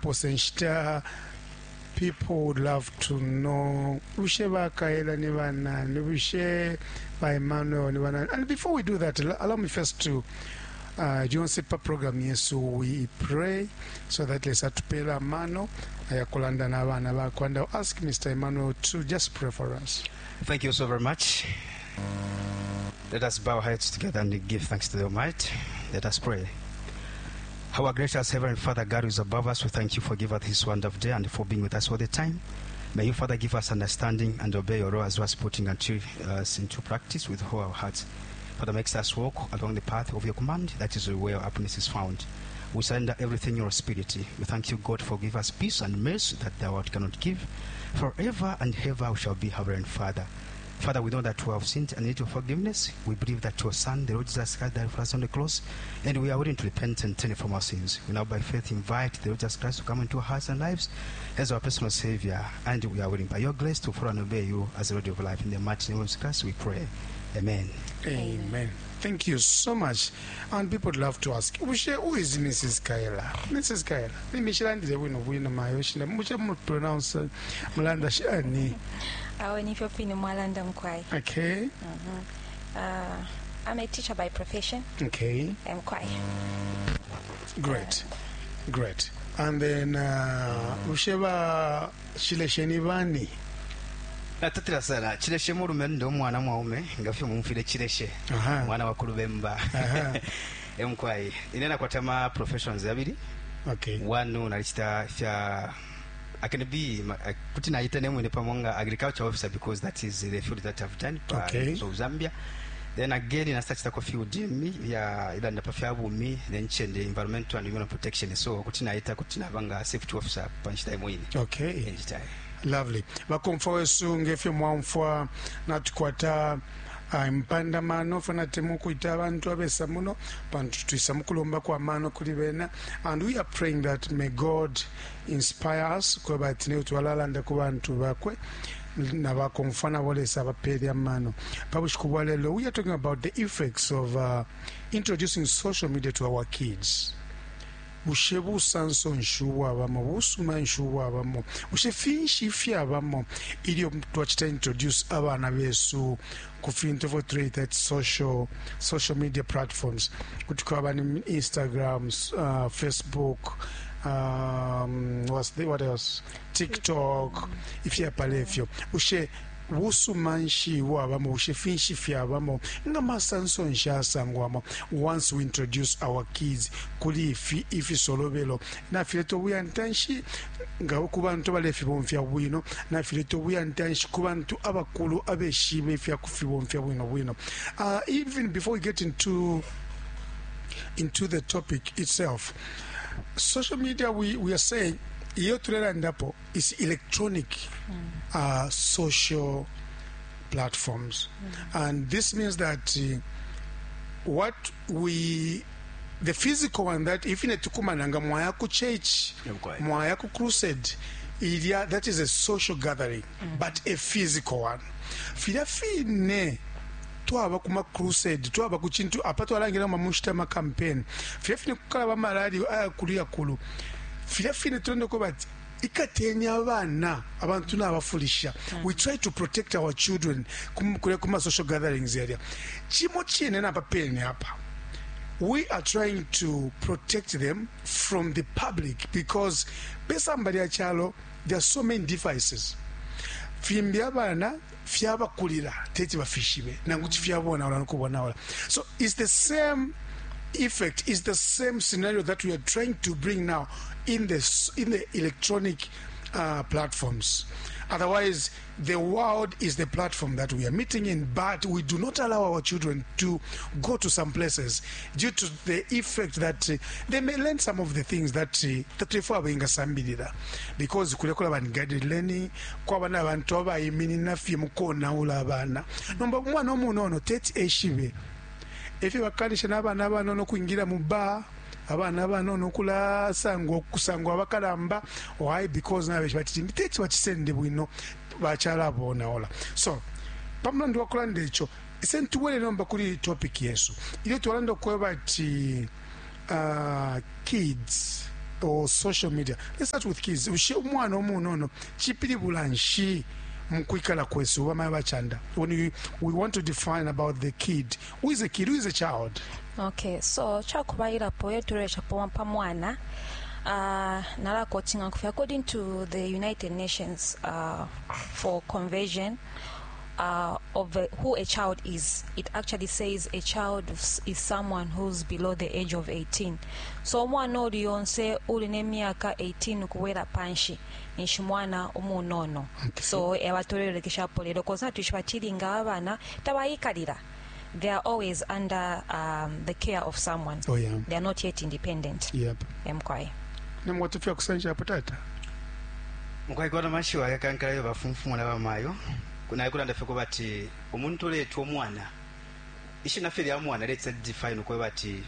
Tukanaposa inshita people would love to know bushe bakaela ni banani bushe ba Emmanuel ni banani and before we do that allow me first to uh, lyonse pa program yesu we pray so that lesa atupela amano ayakulanda n'abana bakwe and I'll ask Mr. Emmanuel to just pray for us Thank you so very much. Let us bow our heads together and give thanks to the Almighty. Let us pray. Our gracious Heavenly Father, God who is above us, we thank you for giving us this wonderful day and for being with us all the time. May you, Father, give us understanding and obey your law as well as putting unto us into practice with all our hearts. Father, makes us walk along the path of your command. That is where our happiness is found. We surrender everything in your spirit. We thank you, God, for give us peace and mercy that the world cannot give. Forever and ever we shall be our Father. Father, we know that we have sinned and need your forgiveness. We believe that your Son, the Lord Jesus Christ, died for us on the cross, and we are willing to repent and turn from our sins. We now, by faith, invite the Lord Jesus Christ to come into our hearts and lives as our personal Savior, and we are willing, by your grace, to follow and obey you as the Lord of life. In the mighty name of Jesus Christ, we pray. Amen. Amen. Thank you so much. And people would love to ask, Bushe, who is Mrs. Kaela? Mrs. Kaela, nimishilandile bwino bwino mayo shina mushe mu pronounce mulanda shani. Awe nifyo fine mwalanda mkwai. Okay. I'm a teacher by profession. Okay. Mkwai. Great. Great. And then uh, bushe ba chilesheni bani? Natatila sana chileshe mulume ndo mwana mwaume ngafyo mumfile chileshe Aha. mwana wa kulubemba Aha. emkwai inena kwatama professions yabili Okay. one nalichita fya I can be kuti naita nemwene pamwe agriculture officer because that is the field that I've done pa Okay. so Zambia then again nasachita field mi ya ila ndapa fya bumi then chende environmental and human protection so kuti naita kuti nabanga safety officer panchita imwene Okay. enjita Lovely. Bakomfwa wesu ngefyo mwamfwa natukwata uh, mpandamano fana temu kuita abantu abesa muno pantu twisa mukulomba kwa mano kuli bena and we are praying that may God inspire us kweba ati ne twalalanda ku bantu bakwe nabakomfwa nabo lesa abapele amano pabushiku bwa lelo we are talking about the effects of uh, introducing social media to our kids bushe busanso nshi ubwabamo busuma nshi ubwabamo bushe finshi ifyabamo ilyo twacita introduce abana besu ku fintu ifyo tuleita ati social, social media platforms kuti kwaba ni instagram uh, facebook um, what's the, what else tiktok ifyapala ifyo bushe busuma nshi bwabamo bushe finshi fyabamo nga masanso nshi asangwamo once we introduce our kids kuli ifi ifisolobelo nafileta obuyantanshi nga ku bantu abalefibomfya bwino nafileta obuyantanshi ku bantu abakulu abeshibe ifyakufibomfya bwino bwino uh, even before we get into into the topic itself social media we, we are saying iyo tulelandapo is electronic uh, social platforms and this means that uh, what we the physical one that if tukumana nga mwaya ku church Okay. mwaya ku crusade ilya that is a social gathering but a physical one filya fine twaba kuma crusade twaba ku chintu apa twalangira mamushita ma campaign filya fine kukala ba malali ayakulu yakulu filya fine tulendeko bati ikatenya abana abantu nabafulisha we try to protect our children kum- kule kuma social gatherings area chimo chine napa pene apa we are trying to protect them from the public because pesamba lya chalo there are so many devices fimbi abana fyabakulira teti bafishibe nangu tifyabonaula nokubonaula so it's the same effect is the same scenario that we are trying to bring now in the s- in the electronic uh, platforms otherwise the world is the platform that we are meeting in but we do not allow our children to go to some places due to the effect that uh, they may learn some of the things that uh, tatuifo abengasambilira because kulekula bani guided learning kwaba n'abantu abayiminina fye mukonaula abaana nomba umwana omunono teti eshibe efyo bakalisha n'abaana abanono okwingira mu bar abaana abanono okulasangwa okusangwa abakalamba why because nabeshi bati teti bakisende bwino bakyala abonaola so pamulandu wakulanda ekyo sentubwere nomba kuli topic yesu ilyo twalanda okweba ati uh, kids Or social media. Let's start with kids. Ushe umwana umunono chipilibula nshi mukwikala kwesu bamayo bachanda? When we want to define about the kid, who is a kid, who is a child? Okay, so chakubairapo yetureshapo pamwana, nalakotinga kufi according to the United Nations for Conversion of who a child is, it actually says a child is someone who's below the age of 18. So omwana oli yonse uli n'emyaka 18 kuwera panshi ninshi mwana umunono. Okay. So ebatolelekeshapo lero koza tushibatilinga abana tabayikalira, they are always under the care of someone. They are not yet independent. Mkwai. Namwatufya kusanja apo tata. Mukwai mashiwa yakankalayo bafunfumula bamayo naye kulanda ffe bati omuntu oleeta omwana ishina ffe lya mwana let's define okwe bati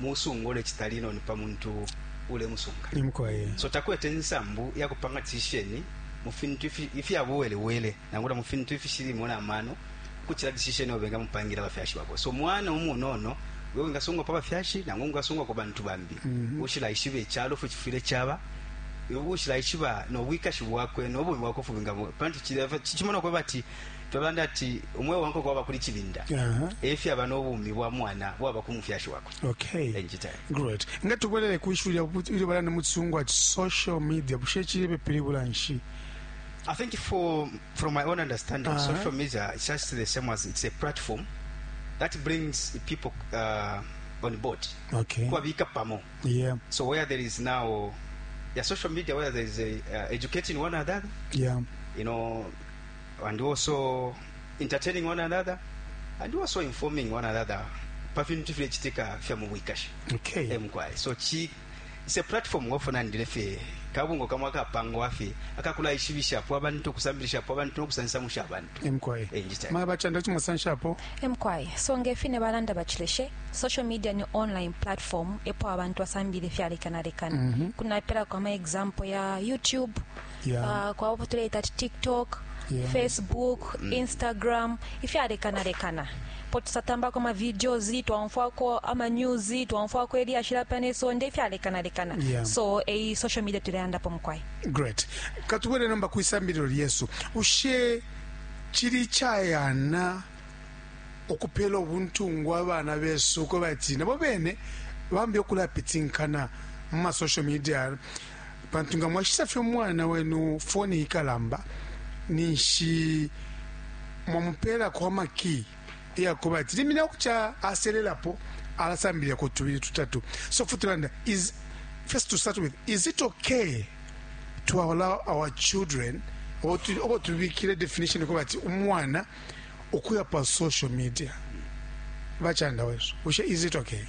musungu ole kitalino nipa muntu ule musunga. Nimkwaye. So takwete nsambu yakupanga tisheni mufintu ifyabuwelewele nangula mufintu ifishilimo namano kuchira decision obenga mupangira bafyashi bako. So mwana umunono wewe ngasungwa pa bafyashi nangu ngasungwa ku bantu bambi. Ushila ishibe chalo fuchifile chaba ushila ishiba no wikashi bwakwe no bumi bwako fubinga pantu chimona kwa bati twabanda ati umwe wanko kwa bakuli chibinda. Efi aba n'obumi bwa mwana bwaba ku mufyashi wako. Okay. Enjita. Great. Ngatubwelele kuishulya ili balana mutsungu ati social media bushe chilibe pilibula nshi. I think from my own understanding, social media is just the same as it's a platform that brings people on board. Okay. Kuwabika pamo. So where there is now, yeah, social media, where there is a, educating one another, you know, and also entertaining one another, and also informing one another. Pafintu file chitika fya mu wikashi. Okay. Mkwai. So chi it's a platform wofuna ndilefe kabungo kamwe akapangwa afe akakula ishibishapo abantu kusambilishapo abantu nokusansamusha abantu. Mkwai. Enjita. Maya bachanda chimusanshapo. Mkwai. So ngefine balanda bachileshe social media ni online platform epo abantu basambile fyalekanalekana. Kunapera kwa ma example ya YouTube, kwa tuleta TikTok, Facebook, Instagram, ifyalekanalekana po tusatambako ama videos twamfwako ama news twamfwako eliashila paneso nde ifyalekanalekana. So ei social media tuleandapo mkwai. Great. Katubwele nomba kuisambilo lyesu. Ushe chili chayana okupela obuntungwa abana besu ko bati nabo bene bambi okulapitinkana mu ma social media pantu nga mwashisa fye omwana wenu foni ikalamba ninshi mwamupela kwa maki iyakuba ati limina okucha aselelapo alasambilira ku tubiri tutatu. So futulanda is first to start with, is it okay to allow our children obo tubikire definition kuba ati umwana okuya pa social media bachanda wesu ushe is it okay?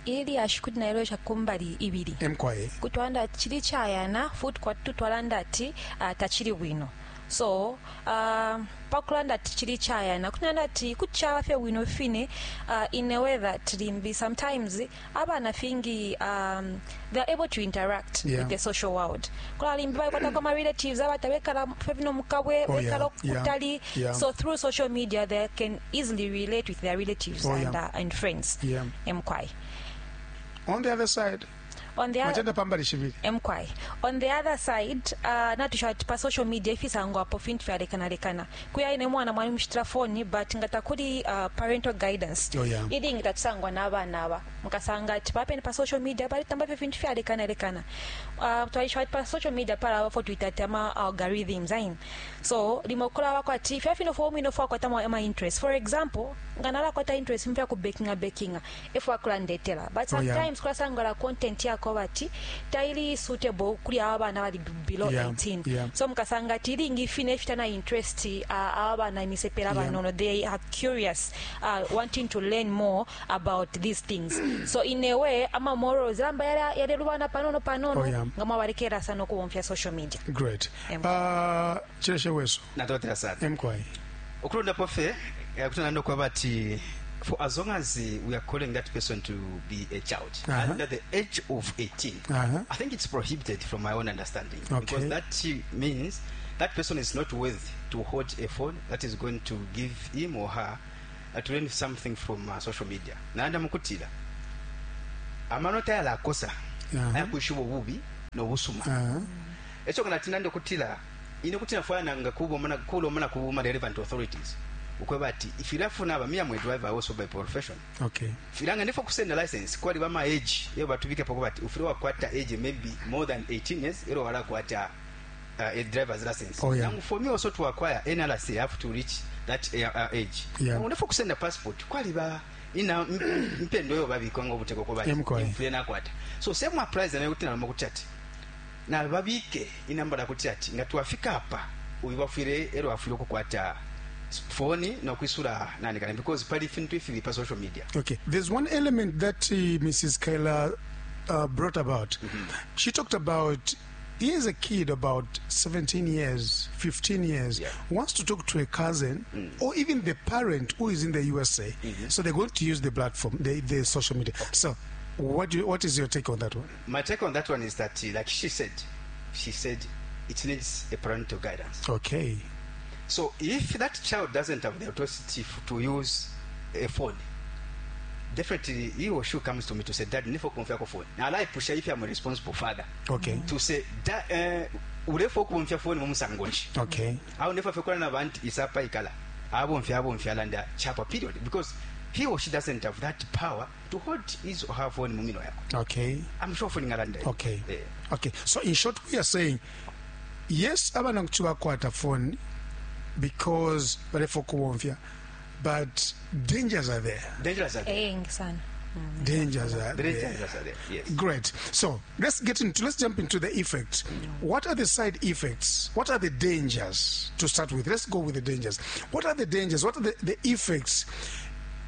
Ili ashikuti nailosha kumbali ibili. Mkwaye. Kutwanda chili chayana futi kwatu twalanda ati tachili bwino. So pakulanda ati chili chayana kunanda ati kuchawa fye bwino fine, in a way that limbi sometimes abana fingi they are able to interact with the social world. Kula limbi bakwata kwa relatives abatabekala fye mukabwe bekala kutali. So through social media they can easily relate with their relatives and friends. Mkwai. On the other side, On the other Machenda pambali shibiri. Mkwai. On the other side, natusha pa social media ifisangwa apo fintu fyalekanalekana. Kuya ine mwana mwali mushitira phone but ngatakuli parental guidance. Ili ngitatusangwa n'abaana aba. Mukasanga ati papene pa social media bali tamba fye fintu fyalekanalekana. Twalisha pa social media pala abafo twita ama algorithms ayin. So limokola wako ati fya fino fo mino fo kwata ama interest. For example, nganala kwata interest mfya ku baking if wakulandetera. But sometimes kwasanga la content yako bati taili suitable kuli abana bali below 18. So mukasanga ati ilingi fine ifitana interest abana imisepera banono they are curious, wanting to learn more about these things. So in a way ama morals lamba yale lubana panono panono ngama balekera sana okubomfya social media. Great. Chileshe weso. Natotera sana. Mkwai. Okulonda pofe kutana ndo kwa bati for as long as we are calling that person to be a child under the age of 18, I think it's prohibited from my own understanding. Because that means that person is not worth to hold a phone that is going to give him or her to learn something from social media. Naanda mukutila. Amano tayala akosa. Ayakwishiba ububi nobusuma. Eco nga natinande ukutila ine kuti nafwaya nanga kubomana kulomana kubuma relevant authorities ukweba ati ifilafuna aba me, I'm a driver also by profession. Filanga ndifo kusenda license kwali bama age iyo batubike poko bati ufile wakwata age maybe more than 18 years ero wala kwata a driver's license. Now for me also to acquire NRC, I have to reach that age. Ndifo kusenda passport kwali ba ina mpendo yo babikwa ngo buteko ko bati mfile nakwata. So same applies na kuti na makuchati na babike inamba kuti ati nga twafika hapa uyibafire ero afire kukwata phone no kwisura nani kana because pali fintu ifi pa social media. Okay, there's one element that Mrs. Kaila brought about. She talked about here's a kid about 17 years, 15 years, wants to talk to a cousin or even the parent who is in the USA. So they're going to use the platform, the social media. So what is your take on that one? My take on that one is that, like she said it needs a parental guidance. Okay. So if that child doesn't have the authority to use a phone, definitely he or she comes to me to say, Dad, nifo kumfia ko phone. Now I push if I'm a responsible father. Okay. To say that urefo kumfia phone mumusangonshi. Okay. Au nifo fekora na bantu isapa ikala. Abo mfia landa chapa period, because he or she doesn't have that power to hold his or her phone mumino yako. Okay. I'm sure phone ngalanda. Okay. Yeah. Okay. So in short, we are saying yes, abana kuchuba kwata phone because barefo kumfia, but dangers are there. Dangers are there. Dangers are there. Dangers are there. Yes. Great. So let's jump into the effects. What are the side effects? What are the dangers to start with? Let's go with the dangers. What are the dangers? What are the effects?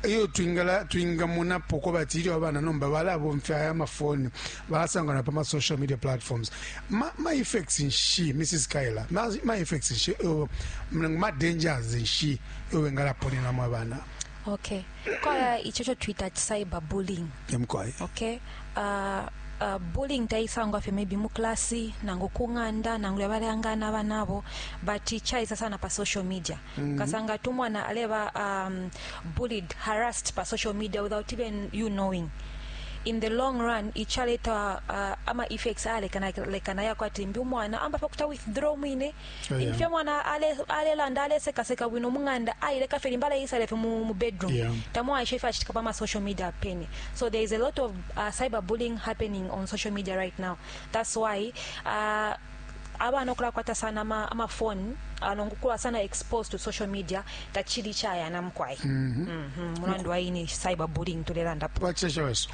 Iyo twingala twingamuna poko bati ilyo abana nomba balabomfya aya mafoni balasangana pa social media platforms. Ma effects nshi Mrs. Kaila, ma effects nshi, ma dangers nshi iyo wengalaponena mwa bana. Okay. Kwa ichocho Twitter cyber bullying. Mkwai. Okay. Bullying taisangwa fe maybe mu klasi nangu kunganda nangu yabalangana banabo, but chaisa sana pa social media. Kasanga tumwana aleba bullied, harassed pa social media without even you knowing. In the long run ichaleta ama effects ale kana lekana yako ati mbi mwana amba pakuta withdraw mwine. Imfya mwana ale landa ale seka seka bwino munganda aile kafe mbala isale mu bedroom. Tamwa aisha achitika pa social media peni. So there is a lot of cyber bullying happening on social media right now. That's why abana okula kwata sana ama phone anongukula sana exposed to social media tachili chaya na mkwai. Mulandu waini cyber bullying tulelanda. Wachesha weso.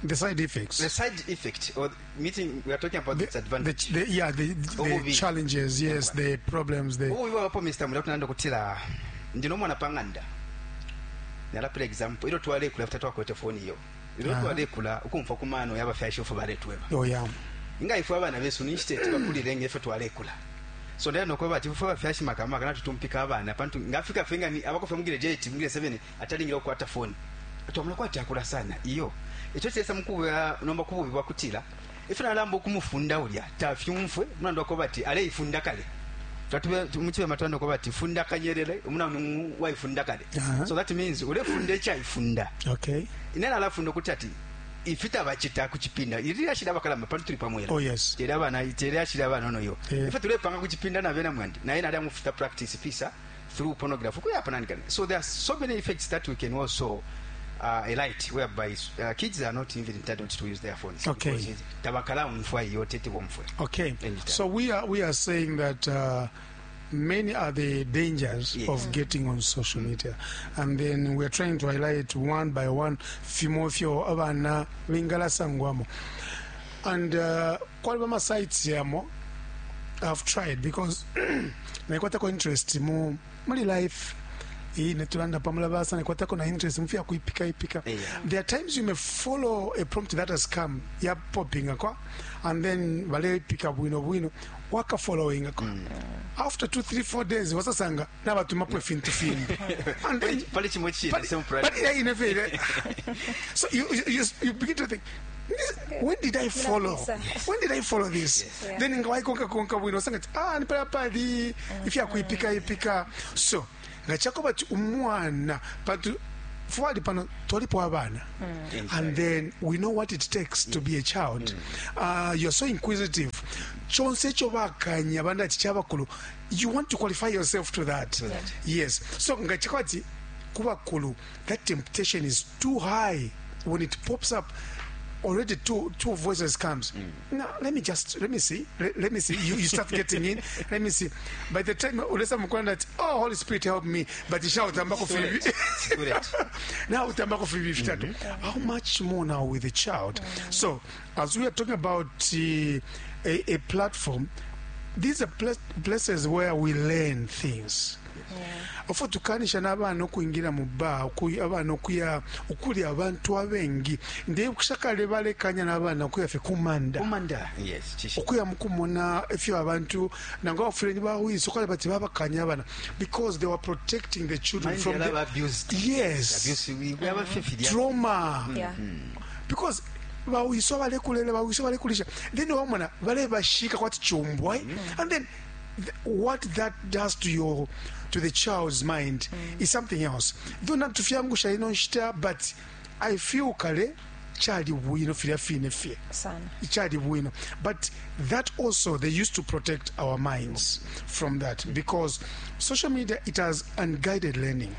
The side effects. The side effect, or meeting, we are talking about the disadvantage. The challenges, yes, the problems. The oh, we Mr. Mulatu kutila ndino mwana panganda. Nalapela example, ilo tuwale kula after twakwete phone iyo. Ilo tuwale kula ukumfa kumano yaba fyasho fo baletweba. Oh yeah. Inga ifo abana besu ni state bakulire ngefe tuwale kula. So ndaya nokweba ati fo bafyashi makama kana tutumpika abana pantu ngafika fenga ni abakofe mugire 8 mugire 7 atalingira kwata phone. Twamula kwati akula sana iyo. Echo chesa mkuwa nomba kububi bwakutila ife nalambo kumufunda ulya tafyumfwe munando ko bati ale ifunda kale tatube muchibe matando ko bati funda kanyerere umuna waifunda kale. So that means ule funde cha ifunda. Okay. Inena alafunda kuti ati ifita bachita kuchipinda irira shida bakalamba pantu tuli pamwera. Oh yes. Tera bana itera shida bana no yo. Ife tule panga kuchipinda na bena mwandi na ina adamu futa practice pisa through pornography kuya panani kale. So there are so many effects that we can also a light whereby kids are not even entitled to use their phones. Okay. Okay. So we are saying that many are the dangers of getting on social media, and then we are trying to highlight one by one. Fimofio abana lingala sangwamo, and kwalibama sites yamo. I've tried because naikwata interest mu muli life. Netulanda pamula basa nekwatako na interest mfia kuipika ipika. There are times you may follow a prompt that has come ya popping akwa, and then wale pika bwino bwino waka following akwa. After 2 3 4 days wasasanga na batumapo fintu fintu. And then pali chimochi the same price. But so you begin to think, when did I follow? When did I follow this? Yes. Yeah. Then ngawai konka konka bwino sanga ah nipala pali ifya kuipika ipika. So ngachako bati umwana patu Fwali pano twalipo abana. And then we know what it takes to be a child. You're so inquisitive. Chonse icho bakanya banda ati chabakulu, you want to qualify yourself to that. To that. Yes. So nga chikwati kubakulu, that temptation is too high when it pops up. Already two voices comes. Now let me just let me see. Let me see. You start getting in. Let me see. By the time ulesa mukwanda ati, "Oh, Holy Spirit, help me," but shout ambako Too late. It's too late. Now utambako fibi vitatu. How much more now with a child? So as we are talking about a platform, these are places where we learn things. Ofo tukanisha n'abaana okuingira mu bar, abaana okuya ukuli abantu abengi ndiye kushakale balekanya n'abaana okuya fe kumanda. Kumanda, yes, chishi. Okuya mukumona ifyo abantu nango abafuleni bawiso kale bati babakanya abana because they were protecting the children Mind from the the abused. Yes. Abuse, we have a fifty. Trauma. Yeah. Because bawiso balekulele, bawiso balekulisha, then wamona balebashika kwati chumbwa, and then what that does to your, to the child's mind is something else. Though not to fyangusha ino nshita, but I feel kale chali bwino filya fine fye. Sana. Chali bwino. But that also, they used to protect our minds from that, because social media, it has unguided learning.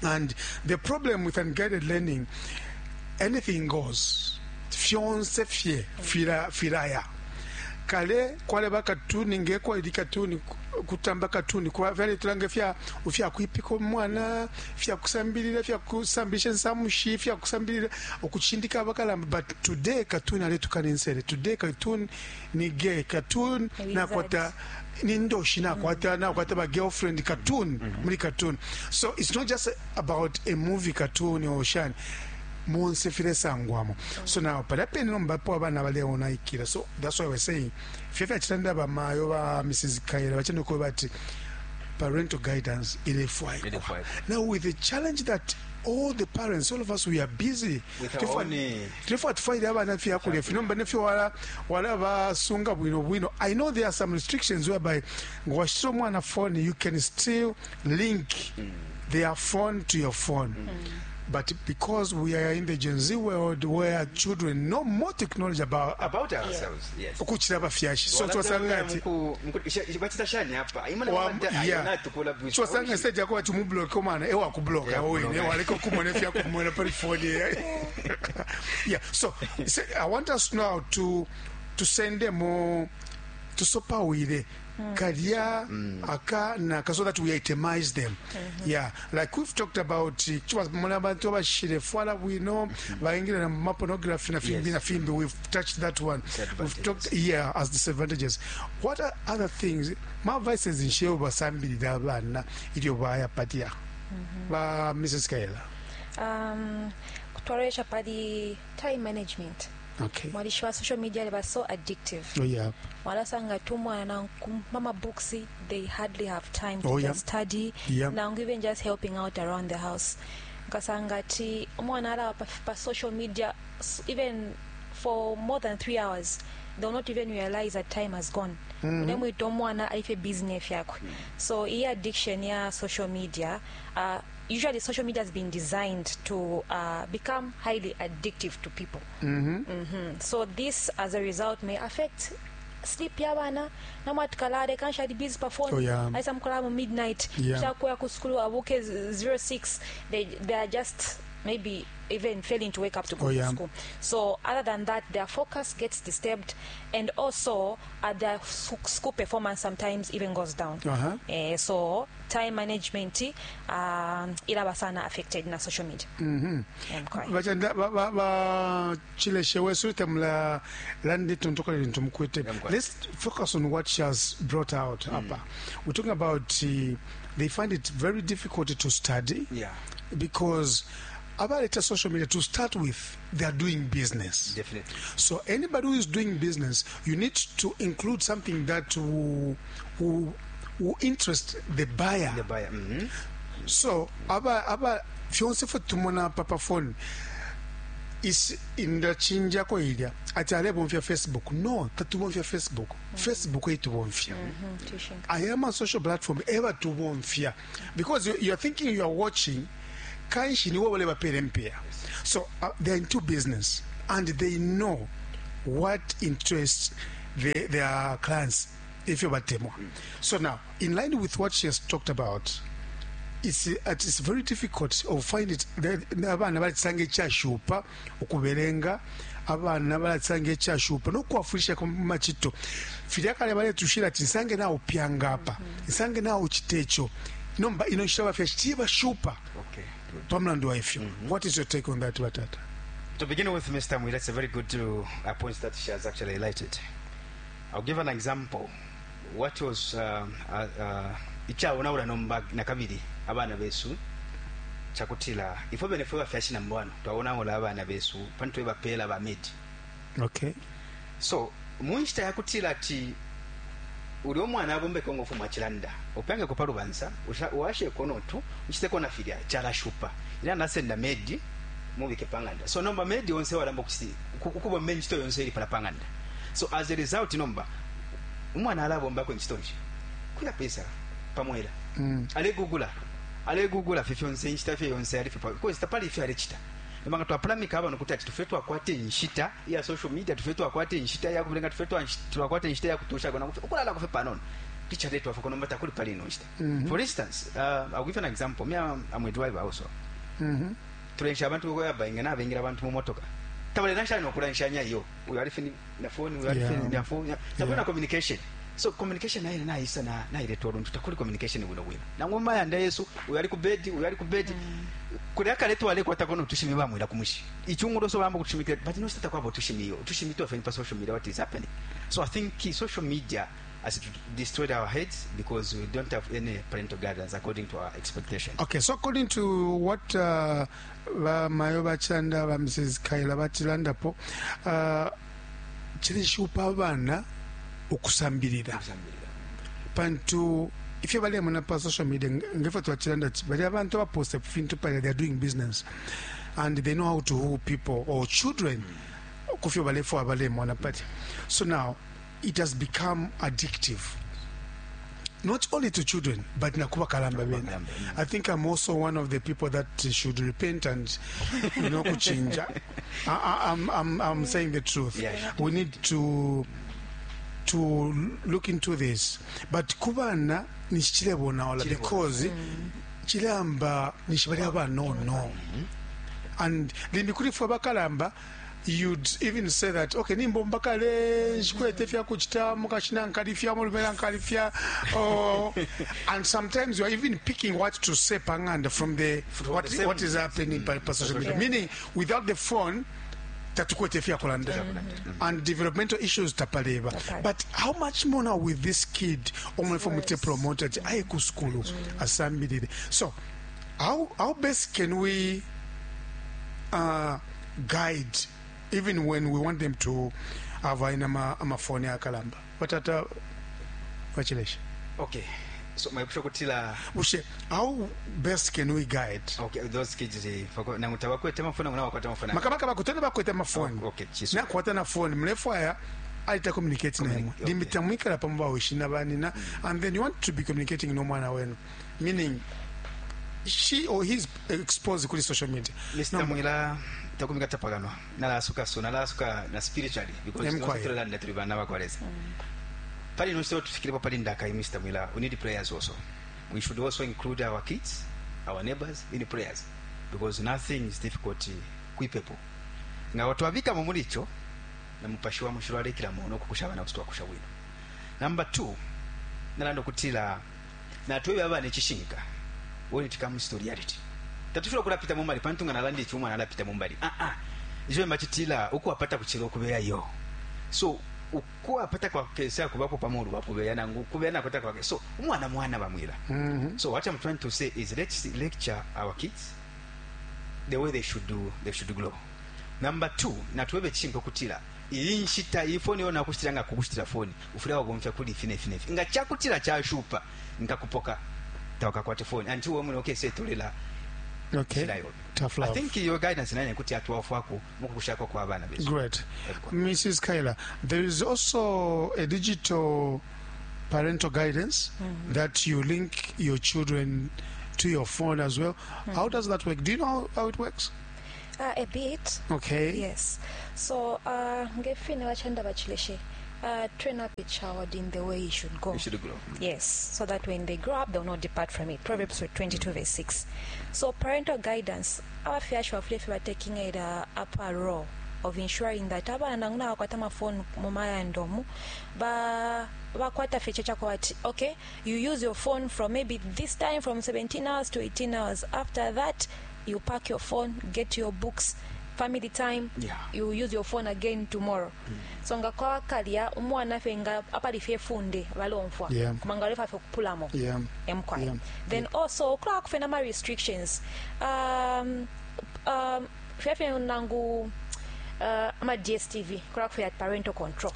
And the problem with unguided learning, anything goes. Fyonse fye, fila, filaya. Kale kwale ba katuni ngekwa ili katuni kutamba katuni kwa vyale tulange fya ufya kuipika mwana, fya kusambilira, fya kusambisha nsamushi, fya kusambilira okuchindika abakalamba. But today katuni aletukana ensere, today cartoon ni gay cartoon, Ni na wizard. kwata ni ndoshi na kwata na kwata ba girlfriend cartoon, muri cartoon. So it's not just about a movie cartoon or shan monse file sangwamo. So now palapeni nomba po abana baleona ikira. So that's why we're saying fyefya chitanda ba mayo ba Mrs. Kaira bachendo ko bati parental guidance ilefwaikwa. Ilefwaikwa. Now with the challenge that all the parents, all of us, we are busy With our Therefore, own, therefore tufaire abana fyakulya fino mba nefyo wala wala basunga bwino bwino. I know there are some restrictions whereby ngwashira omwana phone, you can still link their phone to your phone. But because we are in the Gen Z world where children know more technology about ourselves, yes. ukuchira abafyashi. So Wala twasanga tena ati mku-, isha, batita shani hapa. Imana Wa- mama yeah. ayona tukula bwisi. Twasanga instead yako ati mublock omwana, ewa kublock, Yeah, awo kublock. ine, waleka kumona fya kumona pali phone. Yeah. So I want us now to send them more to sopawile kalya aka naka, so that we itemize them. Yeah, like we've talked about, chwa mona bantu abashire fwala bwino, baingira na ma pornography na fimbi na fimbi. We've touched that one. We've talked, yeah, as disadvantages. What are other things? Ma vices in sheo basambirira abana ilyo baya patia. Ba Mrs. Kaela. Kutwaresha pali time management. Okay. Mwalisho wa social media they are so addictive. Oh yeah. Walasanga tumwa na mama books, they hardly have time to Oh, yeah. just study. Yeah. Na even just helping out around the house. Nkasanga ti umwana ala pa social media even for more than 3 hours, they'll not even realize that time has gone. Unemwita umwana aife business yakwe. So iyi addiction ya social media, usually social media has been designed to become highly addictive to people. So this, as a result, may affect sleep yabana. Namwatikalale kanshi ali busy pa phone. Oh, yeah. Aisa mkola mu midnight. Yeah. Shakuya ku school abuke 06. They are just maybe even failing to wake up to go Oh, to yeah. school. So other than that, their focus gets disturbed, and also their school performance sometimes even goes down. So time management, ilaba sana affected na social media. Okay. Bachanda, ba, ba, ba, chileshe wesu tamla landi tuntoka lintu mkwete. Yeah, mkwete. Let's focus on what she has brought out. Apa. We're talking about they find it very difficult to study. Yeah. Because about social media, to start with, they are doing business. Definitely. So anybody who is doing business, you need to include something that will interest the buyer. The buyer. So aba fyonse fo tumona papa phone is in the chinja ko ilya ati ale bomfya Facebook. No, tatubomfya Facebook. Facebook itubomfya. Tuition. I am a social platform ever tubomfya, because you are thinking you are watching. Kanshi niwe balebapela impiya. So they're into business and they know what interests their clients ifyo batemwa. So now, in line with what she has talked about, it's very difficult to find it. Abana balisanga ichashupa ukubelenga, abana balisanga ichashupa nokwafwilisha ku machito. Filya kale baletushila ati nsange na upyanga apa, nsange na uchitecho. Nomba ino nshita bafya chiba shupa. Okay. Pamulandu wa ifyo. What is your take on that, Batata? To begin with, Mr. Mwila, it's a very good point that she has actually highlighted. I'll give an example. What was ichaona nomba nakabili abana besu chakutila ifo bene fwe bafyashi na mbwano twaona ola abana besu pantu bapela ba medi. Okay. So munshita yakutila ati uli omwana abombe kongo fuma chilanda opange ko palubansa uwashe kono tu uchite kona filya chala shupa ila nasenda medi mubike panganda. So nomba medi onse walamba kusi kukuba menjito yonse ili pala panganda. So as a result nomba umwana alabomba ko nchitonji kuna pesa pamwela ale gugula fifyonse nchita fyonse ali fipa because tapali ifyo alechita nomba twapalamika abano kuti ati tufetwa kwate nshita ya social media, tufetwa kwate nshita ya kubenga, tufetwa twakwate nshita ya kutosha kona ukulala kufe panono teacher letu afuko nomba takuli pali ino nshita. For instance, I'll give an example. Me, I'm a driver also. Tulensha abantu ko yabainga na bengira abantu mu motoka tabale nasha no kulanshanya iyo uyu ali fini na phone, uyu ali fini na phone, tabona communication. So communication nayo na isa na na ile tolo tutakuli communication bwino bwino na ngoma ya nda Yesu uyu ali ku bed, uyu ali ku bed. Kuli akaletu ale kwata kono tushimi bamwira kumushi ichungulo so bambo kushimikira but no sita kwabo tushimiyo tushimito afeni pa social media what is happening. So I think social media has destroyed our heads because we don't have any parental guidance according to our expectation. Okay, so according to what ba mayo bachanda ba Mrs. Kaila batilandapo, chilishupa abana ukusambilira pantu ifyo bali muna pa social media ngefa twachilanda bali abantu baposta fintu pale, they are doing business and they know how to woo people or children kufyo balefo abale mwana pati. So now it has become addictive, not only to children but na kuba kalamba bene. I think I'm also one of the people that should repent and you know kuchinja. I'm saying the truth. Yeah. We need to look into this, but kubana nishilebona wala because chilamba nishibali aba no and limbi fwa bakalamba. You'd even say that okay nimbo mbakale shikwete fya kuchita mukashina nkalifya mulumela nkalifya, and sometimes you are even picking what to say panganda from the what is happening pa social media, meaning without the phone tatukwete fya kulanda and developmental issues tapaleba. But how much more now with this kid omwe mute promoter aye ku school asambilire. So how best can we guide even when we want them to have amafoni akalamba batata wachilesha? Okay, so my kutila ushe how best can we guide okay those kids na mutabakwete mafoni na wakwata mafoni makabaka bakutana bakwete mafoni. Okay, na kwata na phone mlefu aya alita communicate na yemwe limita mwikala pamba wishina banina and then you want to be communicating no mwana wenu, meaning she or he's exposed kuli social media. Mr. Mwila takumika tapaganwa nalasuka so nalasuka na spiritually because tulanda tuli bana bakwaleza pali no so tufikire pali ndaka Mr. Mwila, we need prayers also. We should also include our kids, our neighbors in prayers because nothing is difficult kuipepo nga watu abika mu mulicho na mupashi wa mushiro alekira muno kukushaba na kutwa kusha wino. Number 2 nalando kutila na tuwe baba nechishinka when it comes to reality tatufira kulapita mumbali pantu nga nalandi chuma nalapita mumbali izo machitila uko apata kuchiro kubeya yo so uko apata kwa kesa kubako pamuru bakubeya nangu kubeya nakota kwa so umwana mwana bamwira. So what I'm trying to say is let's lecture our kids the way they should do, they should grow. Number 2 natuwebe chinko kutila iyi nshita iyi phone yona kushitira nga kukushitira phone ufira wagomfya kuli fine fine nga chakutila chashupa ngakupoka tawaka kwa phone and tuwe mwe okay say tulela. Okay. Tough love. I think your guidance nanye kuti atuwafwako mukukushako kwa abana besu. Great. Mrs. Kaila, there is also a digital parental guidance that you link your children to your phone as well. How does that work? Do you know how it works? A bit. Okay. Yes. So, nge fine bachanda bachileshe. Train up a child in the way he should go. He should grow. Yes, so that when they grow up, they'll not depart from it. Proverbs 22, verse 6. So, parental guidance, abafyashi bafule fye taking a upper role of ensuring that abana nangu nabakwata amafoni mu mayanda omu ba bakwata fye kyekyakuba ati okay, you use your phone from maybe this time from 17 hours to 18 hours. After that, you pack your phone, get your books, family time. You use your phone again tomorrow. So nga kwakalya umwana fye nga apali fye funde balomfwa kumanga balefa fye kupulamo emkwai. Then also kulaba kufe nama restrictions, fye fye nangu ama DSTV kulaba kufe parental control.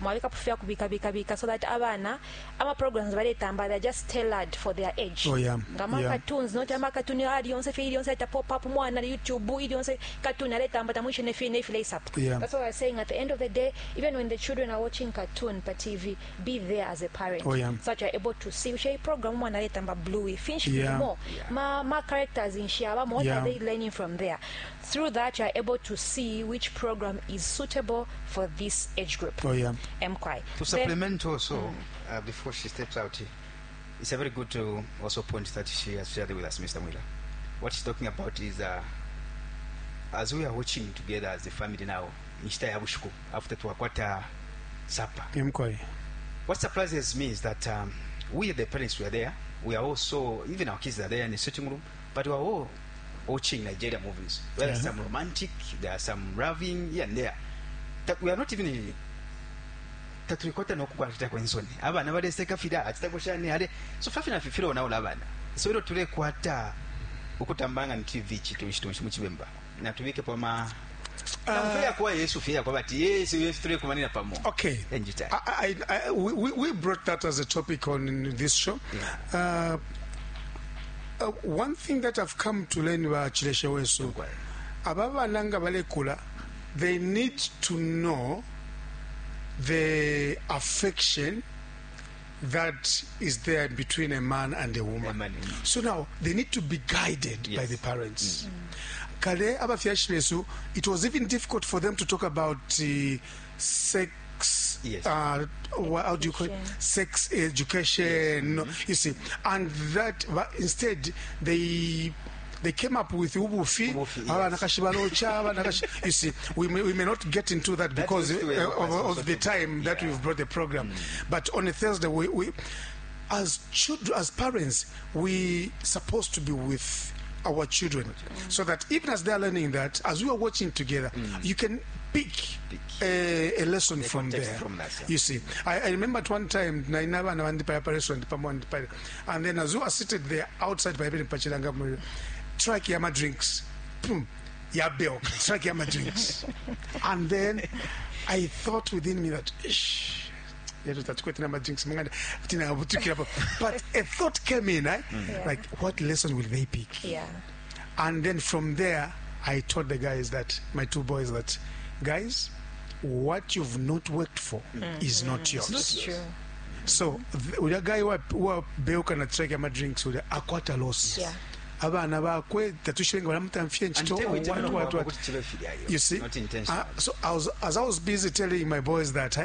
Mwabika kufya kubika bika bika so that abana ama programs baletamba, they're just tailored for their age. Nga ama cartoons, not ama cartoon ali yonse fye ili yonse ita pop up mwana YouTube ili yonse cartoon aletamba tamwishe ne fye ne fye up. That's why we're saying at the end of the day, even when the children are watching cartoon pa TV, be there as a parent. So that you're able to see ushe program mwana aletamba bluey finish more. Ma characters in shiaba, what are they learning from there? Through that, you're able to see which program is suitable for this age group. MQI. To supplement also, before she steps out, it's a very good to also point that she has shared with us, Mr. Mwila. What she's talking about is, as we are watching together as a family now, inshita ya bushiku, after twakwata supper. MQI. What surprises me is that we, the parents, were there. We are also, even our kids are there in the sitting room, but we are all watching Nigeria movies. There are some romantic, there are some loving here and there. That we are not even tatulikwata nokukwata kwensoni abana baleseka fira achitakushani ale so fafina fifiro nawo labana so ilo tulekwata ukutambanga ni TV chitu chitu muchibemba natubike pama uh, kwa Yesu fia kwa bati Yesu Yesu tulekumanina pamo. Okay. Enjita. I, we brought that as a topic on this show. One thing that I've come to learn ba Chileshe wesu, aba bana nga balekula, they need to know the affection that is there between a man and a woman. A man. So now they need to be guided by the parents. Kale abafyashi besu, it was even difficult for them to talk about sex. How do you call it? Education. Sex education. No, you see, and that, but instead they came up with ubufi. Ubufi, yes. Abanakashi balocha, abanakashi. You see, we may not get into that That because used to be of the time that we've brought the program. But on a Thursday, we as children, as parents, we supposed to be with our children, so that even as they are learning that, as we are watching together, you can pick, Pick. a lesson The from context there. from that, yeah. You see, I remember at one time, naina abana bandi pa restaurant pamo ndi, and then as we were seated there outside by pachilanga, truck yama drinks, boom, ya bilk, truck yama drinks, and then I thought within me that, Ish, yetu tatukwete nama drinks manganda tina butukira pa." But a thought came in, eh? Like, what lesson will they pick? And then from there, I told the guys that, my two boys, that, guys, what you've not worked for is not yours. It's true. So, ulya guy wa beuka na truck yama drinks, ulya akwata loss. Abana bakwe tatushilenga balamutamfye And nchito, tell we what, what, what. You see? Not intentional. So as I was busy telling my boys that,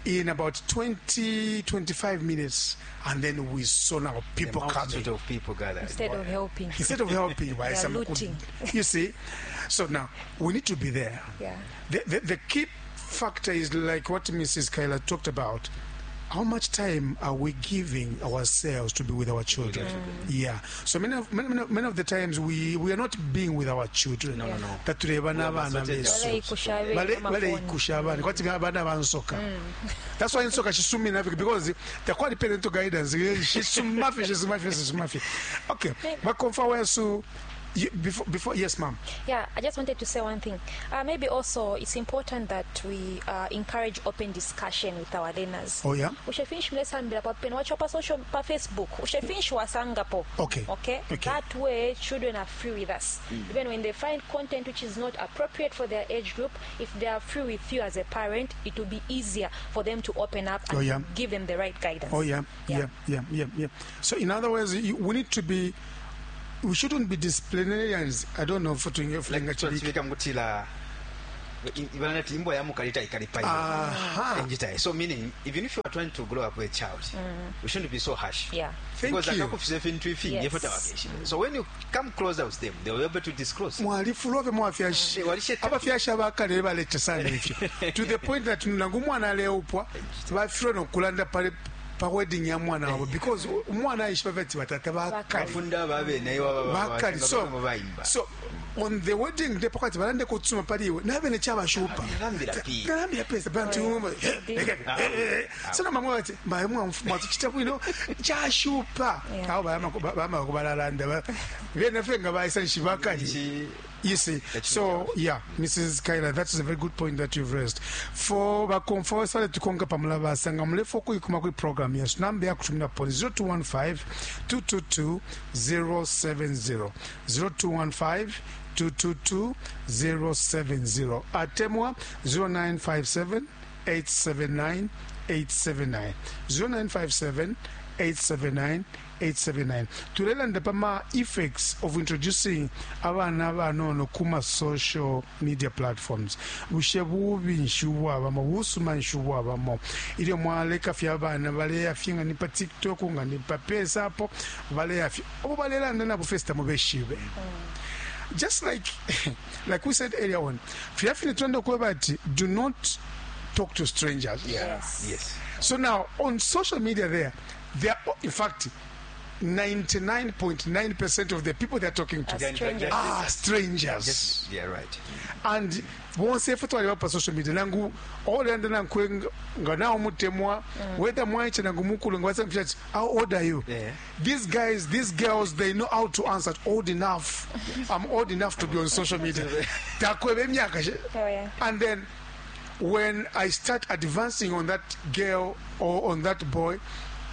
in about 20, 25 minutes, and then we saw now people The multitude coming. of people gathered. Instead of helping. Instead of helping, why They are some could- looting. You see? So now, we need to be there. The key factor is like what Mrs. Kyla talked about. How much time are we giving ourselves to be with our children? Yeah. So many of the times we are not being with our children. No. Tatuleba n'abaana We are besu. Baleikusha abe amafoni. Baleikusha abaana kwati abaana bansoka. That's why insoka shisumina Africa, because takwali parental guidance, shisumafi shisumafi shisumafi. Okay, bakomfa wesu, before, yes, ma'am. Yeah, I just wanted to say one thing. Maybe also it's important that we encourage open discussion with our learners. Ushefinshi mulesambila pa pene wacho pa social, pa Facebook, ushefinshi wasangapo. Okay? Okay. That way children are free with us. Even when they find content which is not appropriate for their age group, if they are free with you as a parent, it will be easier for them to open up and give them the right guidance. Oh yeah. So in other words, we need to be We shouldn't be disciplinarians. I don't know for Like twachibika mukutila ibanati imbwa ya mukalita ikalipa iyo. So meaning even if you are trying to grow up with a child, we shouldn't be so harsh. Thank Because you. akakufise fintu ifingi Yes. efo tawakeshibe. So when you come closer with them, they will be able to disclose. Mwalifulwa fye mwafyashi. Walisheta. Abafyashi abakale baleta sana ifyo. To the point that nangu umwana aleupwa bafilwa nokulanda pali pa wedding ya mwana wabo because umwana aishiba fye ati batata bakali. Bafunda babene iwa Bakali. So, baimba. so on the wedding day pakati balande kutsuma pali iwe nabene chabashupa. Nalambira pi. Nalambira pesa bantu so namwe bati mbaye mwatuchita bwino chashupa. Yeah. Awo bayama kubalalanda bene fye nga baisa nshibakali. You see, so yeah, Mrs. Kaila, that is a very good point that you've raised. For bakomfosa tukonga pamulabasa nga mulefo kuikuma kwi program yesu namba yakutumira poni 0215 222 070 0215 222 070 atemwa 0957 879 879 0957 879 879. Tulelanda pama effects of introducing abana banono kuma social media platforms. Bushe bubi nshi ubwabamo, busuma nshi ubwabamo ilyo mwaleka fye abana baleya fye nga ni pa TikTok nga ni pa pesa apo baleya fye obo balelanda nabo first mubeshibe. Just like we said earlier on, filya fine tulanda kweba ati do not talk to strangers. Yeah. Yes. Yes. So now on social media there are, in fact, 99.9% of the people they're talking to Are strangers. are strangers. Yes. Yeah, right. And bonse ife twali pa social media nangu olanda nankwe nga nawo mutemwa whether mwaiche nangu mukulu nga wasa mfisha, how old are you? Yeah. These guys, these girls, they know how to answer. Old enough. I'm old enough to be on social media. Takwebe emyaka she- Oh, yeah. And then when I start advancing on that girl or on that boy,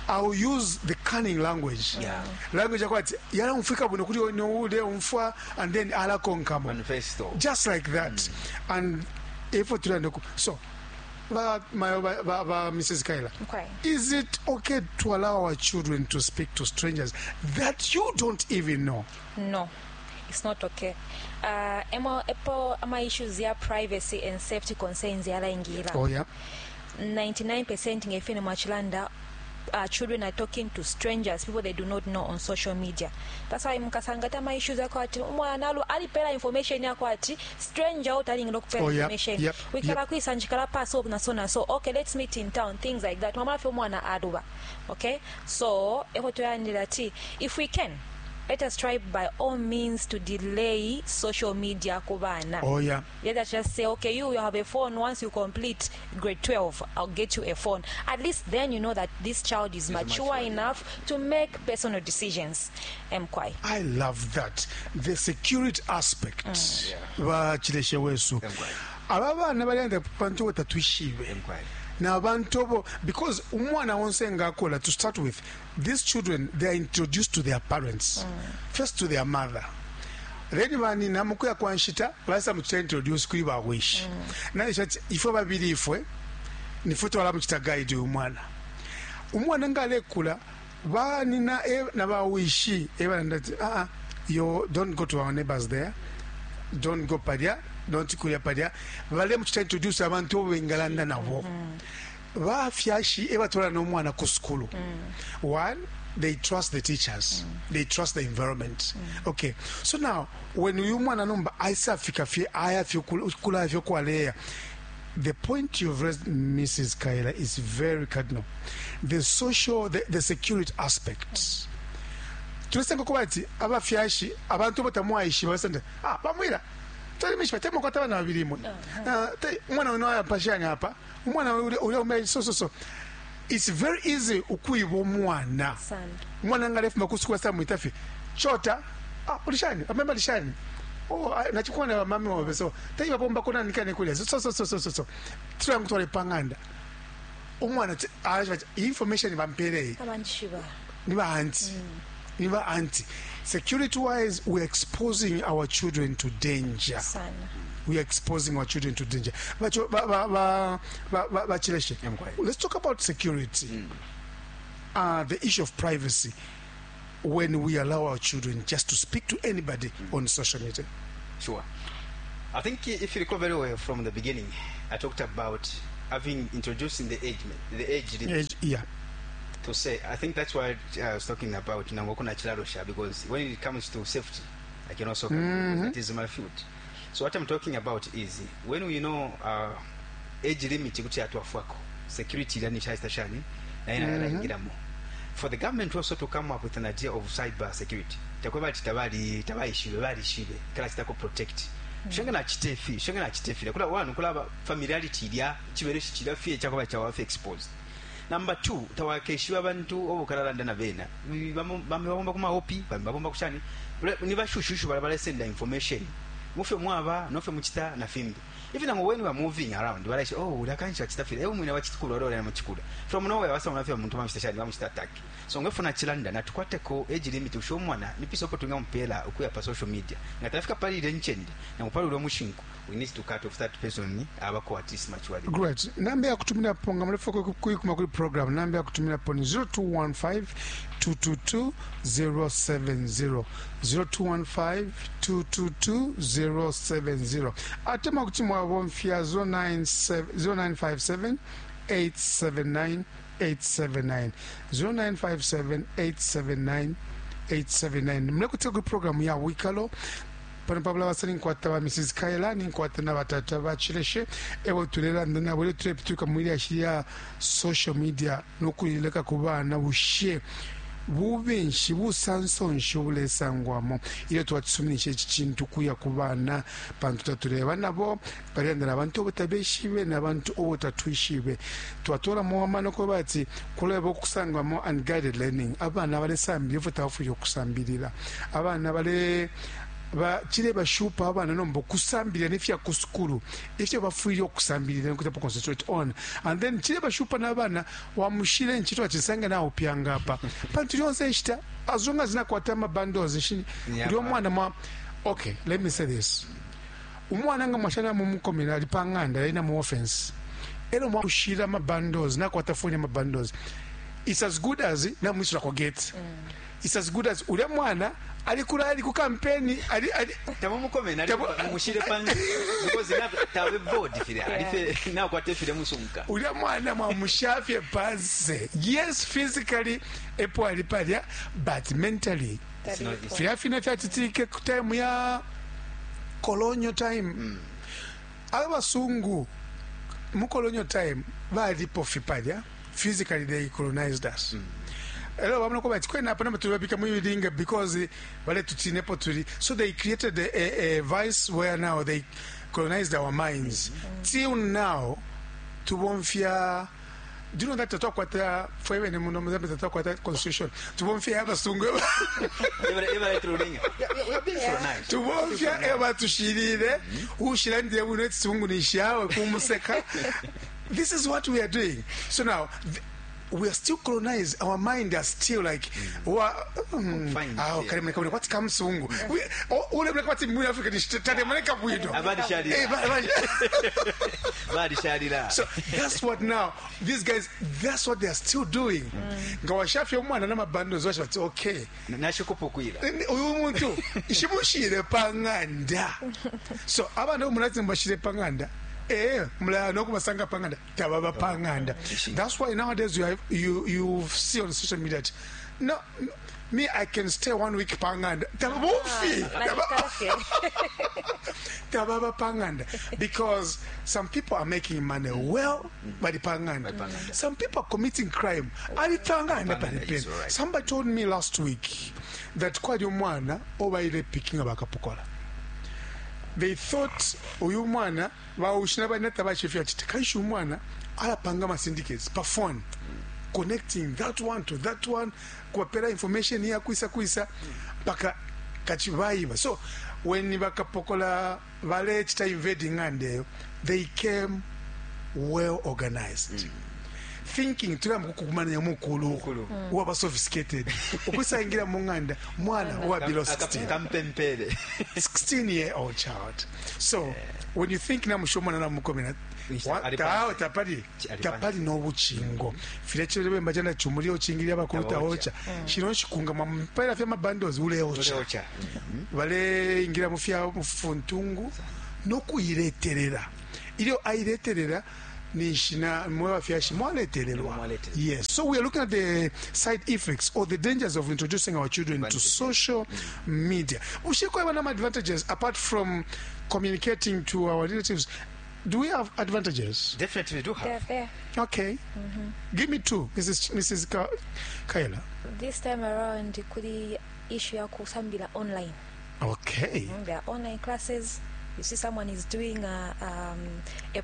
I'll use the cunning language. Yeah. Language yakwati yala umfika bwino kuti ule umfwa and then alakonkamo. Manifesto. Just like that. And if so ba, my, ba, ba, ba, Mrs. Kaila, Okay. is it okay to allow our children to speak to strangers that you don't even know? No, it's not okay. Emo epo ama issues ya privacy and safety concerns yalaingira. Oh yeah. 99% ngefine mwachilanda children are talking to strangers, people they do not know on social media. That's why mukasanga tama issues yako ati umwana alu alipela information yako ati stranger utalingira kupela Oh, yeah, information. yep, Wikala yep. kwisanjikala paso na so na so. Okay, let's meet in town, things like that. Mama fe umwana aluba. Okay? So, eko toyandira ati if we can, let us try by all means to delay social media kubana. Oh yeah. Let us just say, okay, you have a phone. Once you complete grade 12, I'll get you a phone. At least then you know that this child is mature mature, enough to make personal decisions. Mkwai. I love that. The security aspect. Bachileshe wesu. Mkwai. Aba bana balenda pantu batatwishibe. Mkwai. Na abantu bo because umwana wonse ngakola to start with, these children, they are introduced to their parents. First to their mother. Then banina mukuya kwa nshita basa muchita introduce kuri ba wish. Na ishati ifwe babiri ifwe nifwe twala muchita guide umwana. Umwana ngalekula banina na ba wishi ebalanda you don't go to our neighbors there. Don't go padia, don't kuya padia. Bale muchita introduce abantu bengalanda nabo. Bafyashi ebatwala n'omwana ku school. One, they trust the teachers. They trust the environment. Okay. So now, when uyu mwana nomba aisa fika fye aya fye kula fye kwaleya. The point you've raised, Mrs. Kaila, is very cardinal. The social, the security aspect. Tulisenga kuba ati abafyashi abantu batamwaishi basende bamwira tali mishpa temo kwa tabana babiri mwe. Umwana wino ayapashanya hapa umwana ule ule ume so so so it's very easy ukuiba umwana. Sana. Umwana ngalefu makusuku sa mwitafi chota ulishani amemba lishani oh nachukua na mami wa so tayiba bomba kuna nikane kule so so so so so so tulangu twale panganda umwana information bampere Abanshiba. Niba auntie. Niba auntie. Security wise, we're exposing our children to danger. Sana. We are exposing our children to danger. But ba ba ba ba ba ba Chileshe, I'm quiet. let's talk about security. The issue of privacy. when we allow our children just to speak to anybody on social media? Sure. I think if you recall very well from the beginning, I talked about having introducing the age limit. Age, yeah. To say, I think that's why I was talking about Nangokuna Chilarosha, because when it comes to safety, I can also come because that is my field. So what I'm talking about is when we know age limit kuti atwafwako security yani shani na ina mm-hmm. For the government also to come up with an idea of cyber security. Takweba tabali tabaishibe balishibe kala chitako protect. Shanga na chitefi, shanga na chitefi. Kula wanu kula familiarity ilya chibereshi chilafie chakoba chawafe exposed. Number 2, tawakeshiwa abantu obukararanda na bena. Bamwe kuma OP, bamwe kushani. Ni bashushushu balabala send information. Mufe mwaba, nofe muchita na fimbi. Even when we are moving around, wala say, oh, ulakancha chitafira. Ewe mwina wachitukula ora na muchikula. From nowhere wasa unafia muntu bamushita bamushita attack. So ngefuna chilanda na tukwateko age limit usho mwana nipiso po tunga mpela ukuya pa social media. Ngatafika pali ile nchende na upali ule mushinku. We need to cut off that person abako at least maturely. Great. Namba ya kutumira ponga mrefu kuikuma kuli program. Namba ya kutumira poni 0215 222 070 0215 222 070. Atema kuti mwabomfya 0957 879 879 0957 879 879. Mlekutika kuli program ya Wikalo. Pano pabula basali nkwata ba Mrs. Kaila ni nkwata na batata ba Chileshe ewo tulelanda nabo ile tulepituka mwili ashiya social media nokulileka kubana bushe bubenshi busansonshi obulesangwamo ile twatusuminisha eki kintu kuya ku baana pantu tatureba nabo barendera abantu obutabeshibe n'abantu obutatwishibe twatolamo amano kuba ati kuleba okusangwamo unguided learning abaana balesambira ifo tabafwire okusambirira abaana bale ba kile bashupa abana nomba kusambirira nefya ku sukulu ifyo bafwire okusambirira nkutapo concentrate on and then kile bashupa n'abana wamushire nchito achisanga nawo pyanga apa pantu lyonse nshita as long as nakwata amabundles yeah, uli omwana mwa okay let me say this umwana nga mwashana mumukomera ali panganda alina mu offense ero mwakushira amabundles nakwata phone amabundles it's as good as namwisula ko gate it's as good as ule mwana alikula ali ku campaign ali ali tamumukome nali mumushire panzi because na tawe board file alife na kwate file musunka ule mwana mwamushafye pansi yes physically epo alipalya but mentally fyafina fyachitike ku time ya colonial time abasungu mu colonial time balipo fipalya physically they colonized us Hello, bamwe ko bati kwena hapana tulibabika mu bilinga because bale tutinepo tuli so they created a vice where now they colonized our minds till now tubomfya do you know that twakwata fwewe ne muno muzambe twakwata constitution tubomfya abasungu eba tulinga we are being colonized tubomfya eba tushirire ushira ndiye buno tsungu nishawe kumuseka this is what we are doing so now we are still colonized. Our mind are still like, what comes sungu? Ule mleka wati mwini Africa ni tade mleka bwino. Abadi So that's what now, these guys, that's what they are still doing. Nga umwana n'amabando washa bati okay. Nashikupukwira. Uyu muntu ishimushire panganda. So abana umunatsi mbashire panganda. Mula nokumasanga panganda tababa panganda. That's why nowadays you have, you see on social media that, no, me I can stay 1 week panganda tabufi tababa panganda because some people are making money well by the panganda. Some people are committing crime ali panganda pale. Somebody told me last week that kwali omwana obaile picking abakapokola. They thought uyu mwana baushina banata bachifya chiti kanshi umwana alapanga ma syndicates pa phone connecting that one to that one kuwapela information ya kuisa kuisa mpaka kachibaiba. So when bakapokola bale chita invading ngande they came well organized. Thinking tulamba kukumanya mukulu waba sophisticated ukusangira mu nganda mwana wa below 16 kampempele 16 year old child. So when you think na mushomana na mukomena Tapali tapali no bucingo filya chile chana chumulio chingilia bakuluta ocha shino shikunga mwampela fya mabandos uleocha bale ingira mufya mufuntungu no kuileterera ilyo aileterera nishina mwewa fyashi mwaletererwa. Yes, so we are looking at the side effects or the dangers of introducing our children to social media. Ushiko wana advantages apart from communicating to our relatives. Do we have advantages? Definitely we do have. They're there. Okay. Give me two, Mrs. Kayla. This time around, kuli issue ya kusambila online. Okay. There are online classes. You see someone is doing a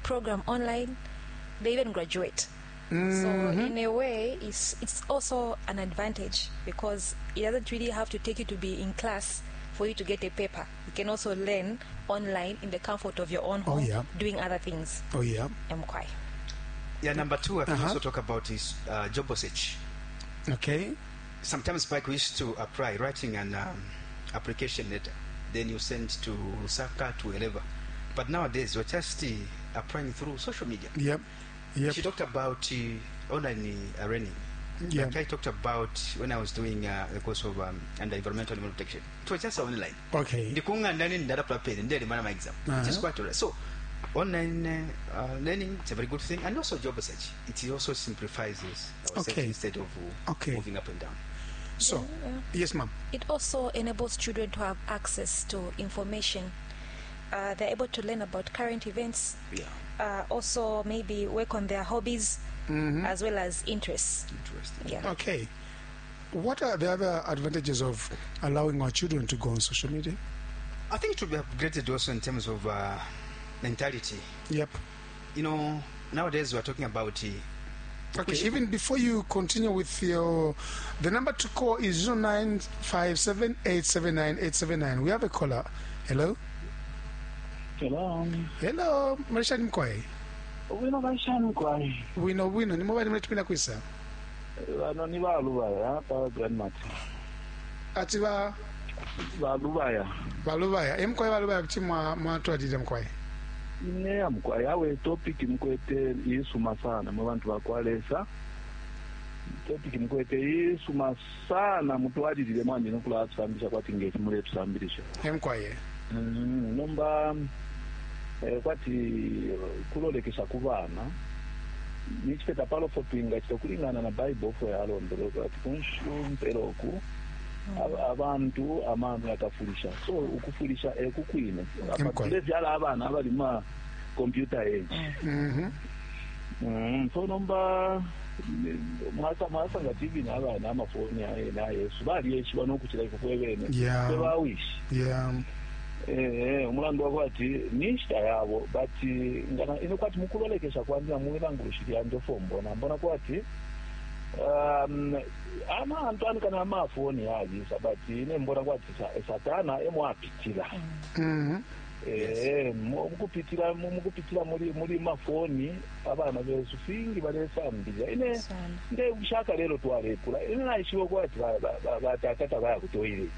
program online. They even graduate. So in a way, it's also an advantage because it doesn't really have to take you to be in class for you to get a paper. You can also learn online in the comfort of your own home, doing other things. Oh, yeah. Mkwai. Yeah, number two, I can also talk about is job search. Okay. Sometimes back we used to apply, writing an application letter. Then you send to Lusaka, to wherever. But nowadays, we're just applying through social media. Yep. Yep. She talked about online learning. Yeah. Like I talked about when I was doing the course of under environmental animal protection. It was just online. Okay. Exam. It is quite all right. So, online learning, it's a very good thing, and also job search. It also simplifies this instead of moving up and down. So, yes, ma'am. It also enables children to have access to information. They're able to learn about current events. Yeah. Also, maybe work on their hobbies as well as interests. Interesting. Yeah. Okay. What are the other advantages of allowing our children to go on social media? I think it should be upgraded also in terms of mentality. Yep. You know, nowadays we're talking about... okay, even before you continue with your... The number to call is 0957-879-879. We have a caller. Hello? Hello. Hello. Marisha Mkwai. Wino Marisha Mkwai. Wino, wino. Ni mobile mletupina kuisa? Ano ni Balubaya, pa Grandmat. Ati ba? Balubaya. Balubaya. Mkwai Balubaya kuti mwa tuadide Mkwai. Ine Mkwai. Awe topic mkwete isuma sana. Mwabantu bakwalesa. Topic mkwete isuma sana. Mtuadidile mwandi nukula atusambisha kwa tingeti mule tusambilisha. Mkwai. Nomba kwati kulolekesha kubana nichipeta palo fotwinga chitokulingana na Bible fo yalondoloka ati kunshumpelo ku abantu amano yakafulisha so ukufulisha ekukwine apatule vyala abana abali ma computer age. So nomba mwasa nga TV na abana amafoni na Yesu bali yeshiba nokuchira ifo kwebene bawishi. Yeah. Umulandu wako ati nishita yabo but ngana ino kwati mukulolekesha kwandira muilangurushiri ando fombona mbona kwati ama Antoine kana amafoni yajisa but ine mbona kwati satana emwapitira. Mukupitira mukupitira muri mafoni abana besu fingi balesambira ine nde ushaka lero twalekula ine naishiwe kwati batatata baya ku toilet.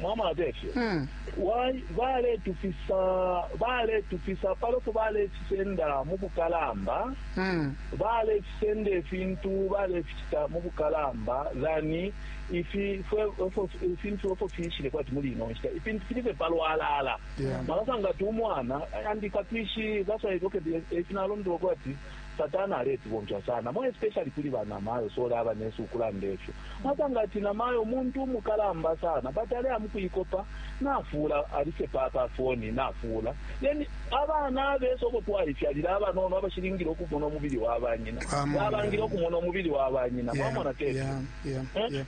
Mama adefyo. Why vale tufisa paloko vale tusenda mukukalamba. Vale tusende fintu vale fita mukukalamba zani ifi fintu ofo fishile kwa timuli ino ifintu filipe palo ala. Malasanga tumwana andika twishi that's why okay ifinalondo kwati satana aleti bonja sana mo especially kuli bana mayo so laba nesu kulandesho matanga ati na mayo muntu mukalamba sana but ale amukuyikopa nafula alise papa phone nafula then abana beso kutwalifyalira abana ono abashiringiro okubona omubiri wabanyina babangira okumona omubiri wabanyina mwamona tete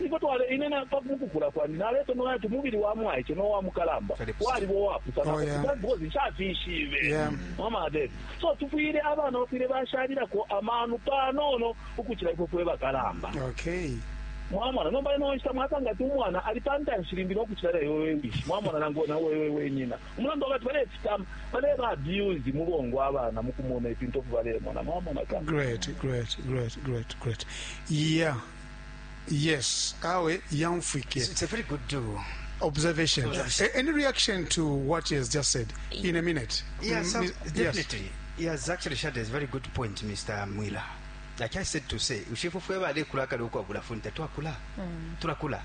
iko twale inena pakukula kwani naleto no ati mubiri wa mwaiche no wa mukalamba wali bo wapu sana because shafishibe mama ade so tufuyire abana bafire bashalira ko amanu panono ukuchira ifo fwe bakalamba. Okay. Mwamona nomba ino nshita mwasanga ti umwana alipanta nshirimbira okuchira yowe wishi mwamona nango na wewe wenyina umulando wakati bale fitam bale ba abuse mubongo abana mukumona ipinto bale mona mwamona ka. Great. Yeah. Yes, awe yamfike. It's a very good do. Observation. Any reaction to what he has just said in a minute? Yes, definitely. Yes. He has actually shared a very good point, Mr. Mwila. Like I said to say, ushifu fwe balekula kale ukwabula phone tatwakula. Tulakula.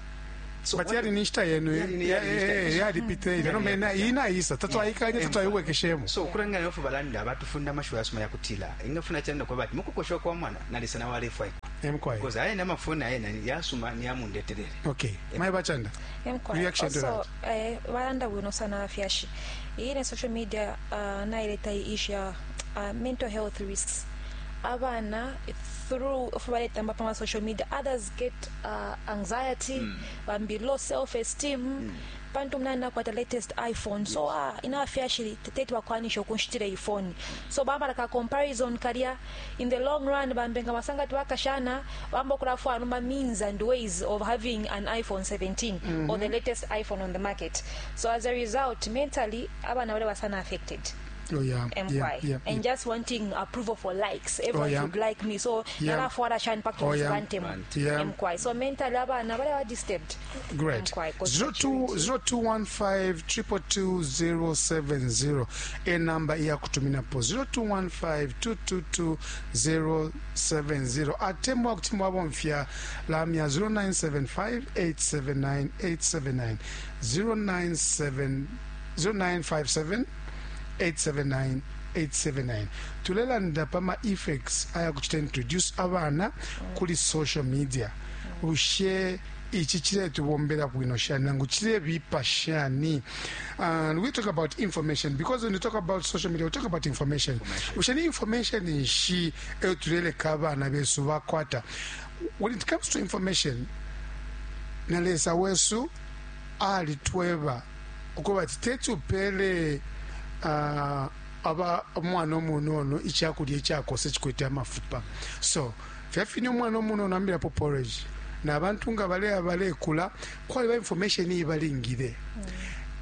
So But what- yali ni nshita yenu. Yali ni nshita yesu. Yalipita ile. Nomba inaisa tatwaikanye, tatwaiwekeshemo. So ukulangana nofu balanda batufunda amashuwa yasoma yakutila ingafuna chanda kwa bati mukukoshwa kwa mwana nalisa na walefwa Emkwai. because ayena amafoni ayena yasuma niyamundetelele. Okay, mai bachanda. Emkwai. Reaction to Also, balanda bwino sana abafyashi. Iyi ne social media naileta issue ya mental health risks. Abana through baletamba pa social media, others get anxiety, bambi low self esteem, pantu mnani nakwata latest iPhone, so ina abafyashi tete bakwanisha okunshitira ifoni, so bambala ka comparison kalya. In the long run, bambenga basanga tibakashana bamba okulafwana ma means and ways of having an iPhone 17 or the latest iPhone on the market. So as a result, mentally abana bale basana affected. Oh yeah. MY. And just wanting approval for likes. Everyone should like me. So nalafuara shani pakto bantemu. MY. So mentally abana bale ba disturbed. Great. MY, 'cause 02 0215 222 070 e namba iyakutuminapo 0215 222 070, atemwa kuti mwabomfya lamya 0975 879 879, 097 0957 879 879. Tulelanda pama effects ayakuchita introduce abana kuli social media. Ushe ichi chiletubombera bwino shani nangu chilebipa shani? And we talk about information, because when you talk about social media, we talk about information. Ushe ni information nshi eyo tuleleka abana besu bakwata? When it comes to information, na Lesa wesu alitweba ukuba ati tetupele aba omwana omunono ekyakulya ekyakosa ekikwete amafupa. So fyafine omwana omunono ambirapo porridge, n'abantu nga bale balekula kwaliba information ibalingire.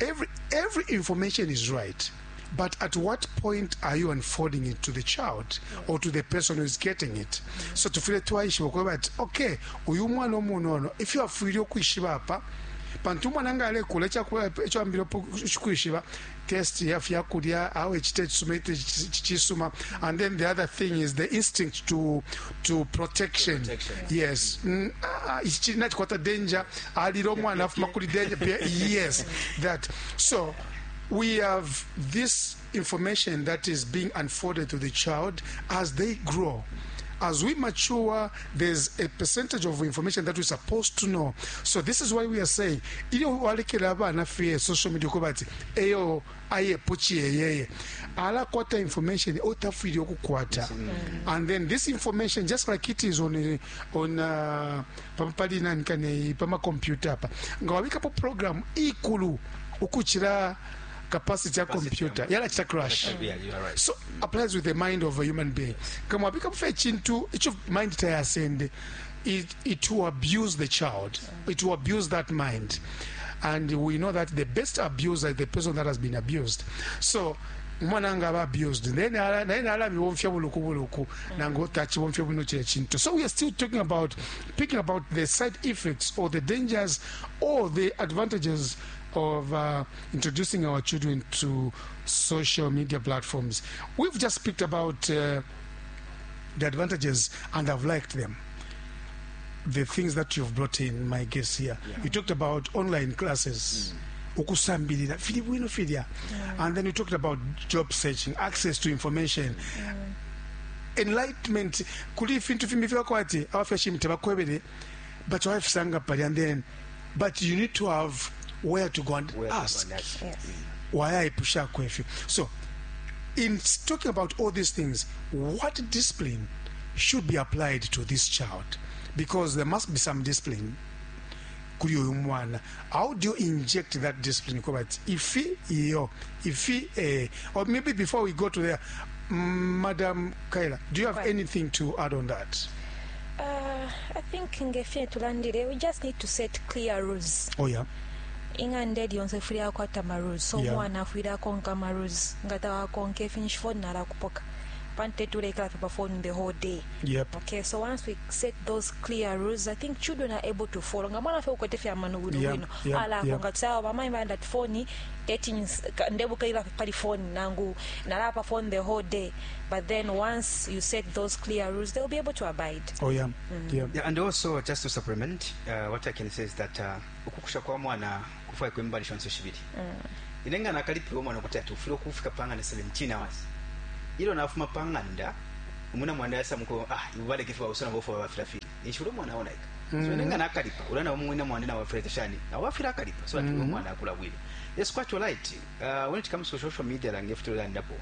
Every information is right, but at what point are you unfolding it to the child or to the person who is getting it? So tufile twaishiba ukuba ati okay, uyu mwana omunono ifyo afwile okwishiba apa, pantu umwana nga alekula ekyambire kwishiba taste ya fyakulya, awe ekita ekisuma kisuma. And then the other thing is the instinct to protection. Protection. Yes. Ichi nachikwata danger, alira omwana afuma kuli danger. Yes, that. So we have this information that is being unfolded to the child as they grow. As we mature, there's a percentage of information that we're supposed to know. So this is why we are saying, iyo walekela abana fye social media kuba ati eyo ayepo chiyeyeye alakwata information otafwile okukwata. And then this information, just like it is on pali nani kane pama computer apa, nga wabikapo program ikulu ukuchira capacity ya computer, yalachita crash. Yeah, you are right. So applies with the mind of a human being. Kama wabika kufa chintu icho mind tayasende, it will abuse the child, it will abuse that mind, and we know that the best abuser is the person that has been abused. So umwana nga aba abused, then naye nalabibomfya buluku buluku nangu tachibomfya bwino kile chintu. So we are still talking about picking about the side effects or the dangers or the advantages of introducing our children to social media platforms. We've just picked about the advantages, and I've liked them. The things that you've brought in, my guest here. You talked about online classes. Ukusambilira fili bwino filya. And then you talked about job searching, access to information, enlightenment. Kuli fintu fimbi fyakwati abafyashi tebakwebere, but wafisanga pali, and then but you need to have where to go and Where to go ask. and ask. Wayaipusha ifyo. So in talking about all these things, what discipline should be applied to this child? Because there must be some discipline kuli uyu mwana. How do you inject that discipline? Kuba ati ifi iyo ifi or maybe before we go to there, Madam Kaila, do you have anything to add on that? I think ngefye tulandire, we just need to set clear rules. Ing'anda eri yonse ifwile yakwata ma rules, so omwana afwile akonka ma rules. Nga tawakonka ifinshi, phone nalakupoka. Pantu teti uleikala fye pa phone the whole day. Yep. Okay, so once we set those clear rules, I think children are able to follow. Nga mwana fye ukwete fye amano bwino bwino. Alakonka tsawa bamai balanda ati phone teti ndebukaila pali phone nangu nalala pa phone the whole day. But then once you set those clear rules, they'll be able to abide. Oh yeah. Yeah, and also just to supplement, what I can say is that ukukusha kwa mwana kufwaikwa imbali shonse shibili. Ine nga nakalipila umwana ukuti ati ufwile ukufika pa ng'anda 17 hours. Ilyo nafuma pa ng'anda, umwina mwandi aisa muku ah iwe baleke fye bawiso nabo fye bafila file. Ninshi ulya umwana aonaika. So ine nga nakalipa, ulya nao umwina mwandi nao afwile shani? Nao afwile akalipa so that ulya umwana akula bwino. Yes, quite right. When it comes to social media lange ifyo tulelandapo,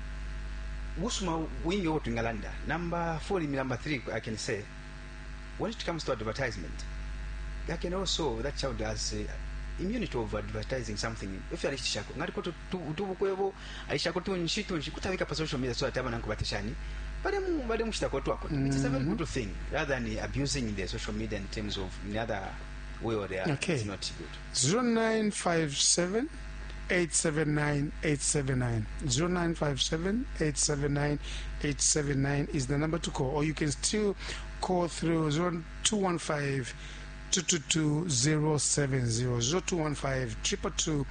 busuma bwingi ubo twingalanda. Number 4, number 3, I can say, when it comes to advertisement, I can also, that child has immunity of advertising something. If alishishako, ngaliko tubukwebo, alishako tunshi tunshi, kutabika pa social media so that abana nkubatishani. Bale bale mushitako twako. It is a very good thing rather than abusing the social media in terms of in other way or the other. Okay. It's not good. 0957 879 879. 0957 879 879 is the number to call, or you can still call through 0215 222 070. 0215 222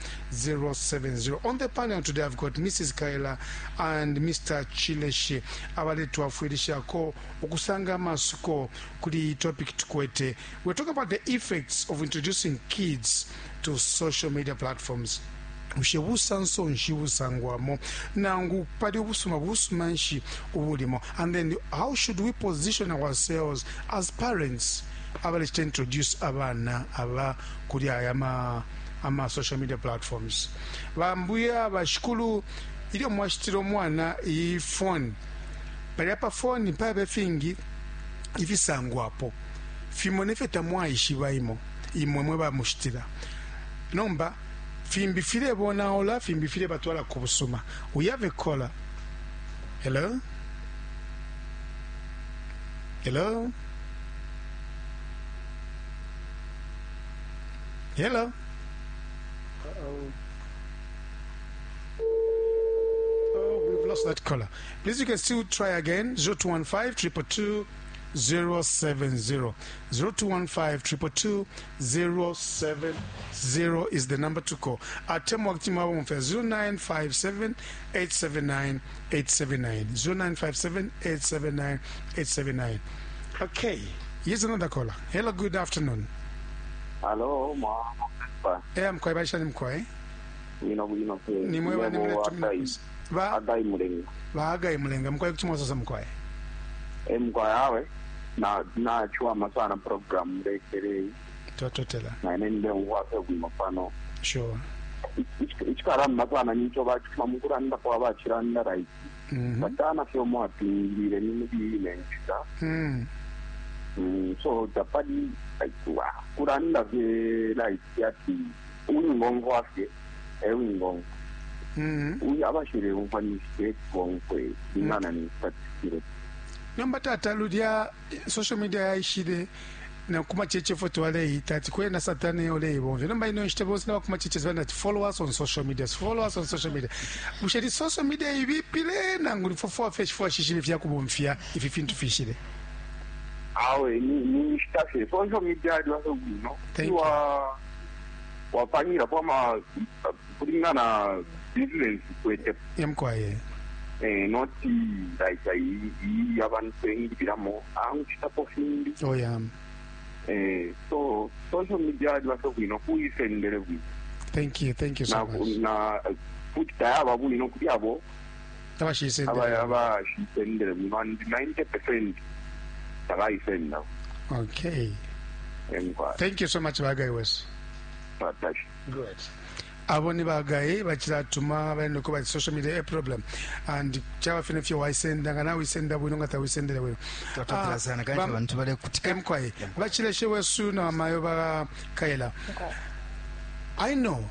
070. On the panel today, I've got Mrs. Kaila and Mr. Chileshe abaletwafwilishako ukusanga amasuko kuli topic tukwete. We're talking about the effects of introducing kids to social media platforms. Bushe busanso nshi busangwamo, nangu pali ubusuma busuma nshi ubulimo? And then how should we position ourselves as parents abalechita introduce abana aba kuli aya ama social media platforms? Bambuya bashikulu, ilyo mwashitile umwana iyi phone, palya pa phone pabe fingi ifisangwapo, fimo nefyo tamwaishiba imo imwe mwe bamushitila. Nomba fimbi filebonaula, fimbi filebatwala ku busuma. We have a caller. Hello? Hello? Hello? Uh-oh. Oh, we've lost that caller. Please, you can still try again. 0215 222 070. 0215 222 070 is the number to call. Atemwa kuti mwabomfya 0957 879 879. 0957 879 879. Okay, here's another caller. Hello, good afternoon. Hello, mwa. Eh, mkwai baishani mkwai. Bwino bwino pe. Ni mwe bani mule tumina. Ba Agai Mulenga. Ba Agai Mulenga, mkwai kuti mwasasa mkwai. Eh, mkwai awe. Na na chua masana program lekere. Twatotela. Na nende ngwase bwino pano. Sure. Ichikara masana nicho ba chuma mukuranda kwa ba chiranda right. Batana fyo mwapingire ni mubile nchita. So tapadi aitwa kuranda ve like yati uyingongo afye ewingongo. Uyu abashire umfanishike bonkwe ingana ni statistic. Nomba tata lulya social media yaishile na kuma cheche foto waleita ati kwena satani oleibomvya. Nomba ino nshita bonse na kuma cheche bana ati follow us on social media, follow us on social media. Bushe ni social media ibipile nangu ni fofo fresh fo shishile fya kubomfya ifi fintu fishile. Awe ni nshita fye social media yaliwa bwino. Wa wapangira kwa kulingana business kwete. Yamkwaye. Not like iyi abantu engibiramo anguchitapo findi. Oh yeah. So social media yaliwa bwino kuyisendele bwino. Thank you, thank you so much. Na futhi tayaba bwino kuyabo. Abashisendele. Abashisendele bwino and 90% takayisenda. Okay. Thank you so much Bagai Wes. Good. Abo ni bagaye bachilatuma balendo kuba social media a problem and chaba fine fyo waisenda nga nawe isenda bwino nga tawisendele bwino. Twatotela sana kanshi abantu bale kutika. Mkwaye. Bachileshe wesu na mayo ba Kaila. I know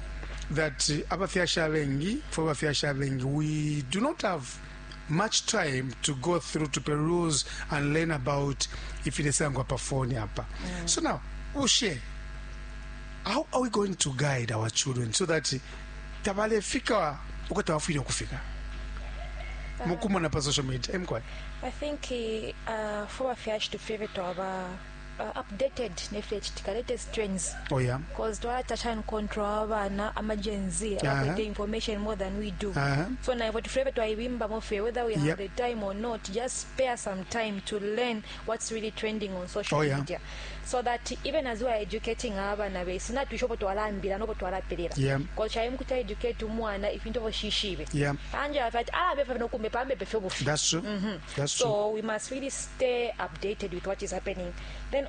that abafyasha bengi, for abafyasha bengi, we do not have much time to go through to peruse and learn about if it is angwa pa phone hapa. So now, Ushe, how are we going to guide our children so that tabalefika uko tawafile kufika? Mukumona pa social media emkwai. I think fwe bafyashi tufwile twaba updated nefilecitika, latest trends. Oh yeah. Because twalatasha and control abana ama Gen Z abakwete information more than we do. So naifwe tufwile twaibimbamo fye, whether we have the time or not, just spare some time to learn what's really trending on social media, so that even as we are educating abana besu, natwisha upo twalambila nopo twalapelela. Because chaimu kuti educate umwana ifintu ovo shishibe. Anje afati alabefa nokumbe pambepe fye bufi. That's true. That's true. So we must really stay updated with what is happening. Then